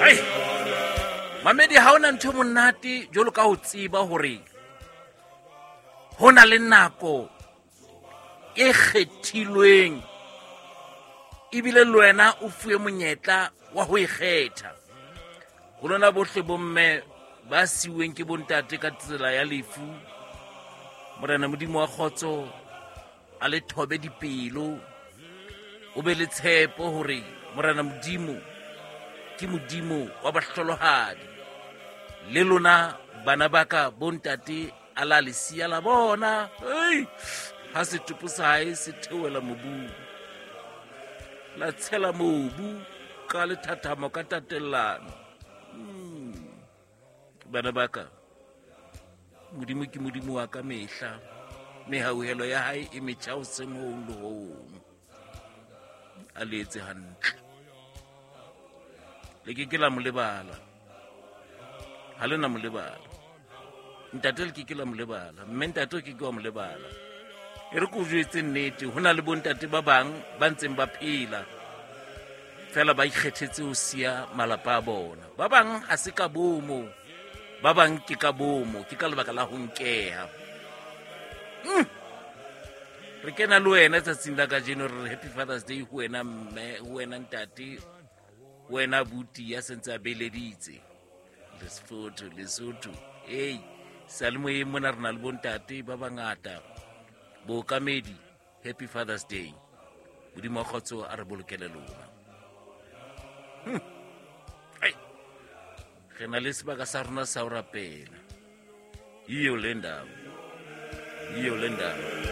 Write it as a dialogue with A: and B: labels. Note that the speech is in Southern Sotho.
A: Hai mamedi, ha ona ntho e monate jwalo ka ho tseba hore ho na le nako e kgethilweng ebile le wena o fuwe monyetla wa ho e kgetha. Ho lona bohle bomme ba siuweng ke bontate ka tsela ya lefu, Morena Modimo wa kgotso a le thobe dipelo, o be le tshepo hore Morena Modimo ke Modimo wa bahlolohadi. Le lona bana ba ka bontate a la le siya la bona, ei, ha setopo sa hae se theohela mobung, la tshela mobu ka lethathamo ka tatellano. Bana ba ka, Modimo ke Modimo wa ka mehla, mehauhelo ya hae e metjha hoseng hong le hong. A le etse hantle, le ke ke la mo lebala, ha le na mo lebala. Ntate le ke ke la mo lebala, mme ntate o ke ke wa mo lebala. E re ko jwetse nnete, ho na le bontate ba bang ba ntseng ba phela fela ba ikgethetse ho siya malapa a bona. Ba bang ha se ka bomo, ba bang ke ka bomo, ke ka lebaka la ho nkeha. Re kena le wena tsatsing la kajeno, re re happy Father's Day ho wena mme, ho wena ntate, ho wena abuti ya sentse a beleditse Lesotho, Lesotho. Ei, seyalemoyeng mona re na le bontate ba bangata. Bookamedi, happy Father's Day. Modimo wa kgotso a re bolokele lona. Ai, re na le sebaka sa rona sa ho rapela. Iyo le ndaba, iyo le ndaba.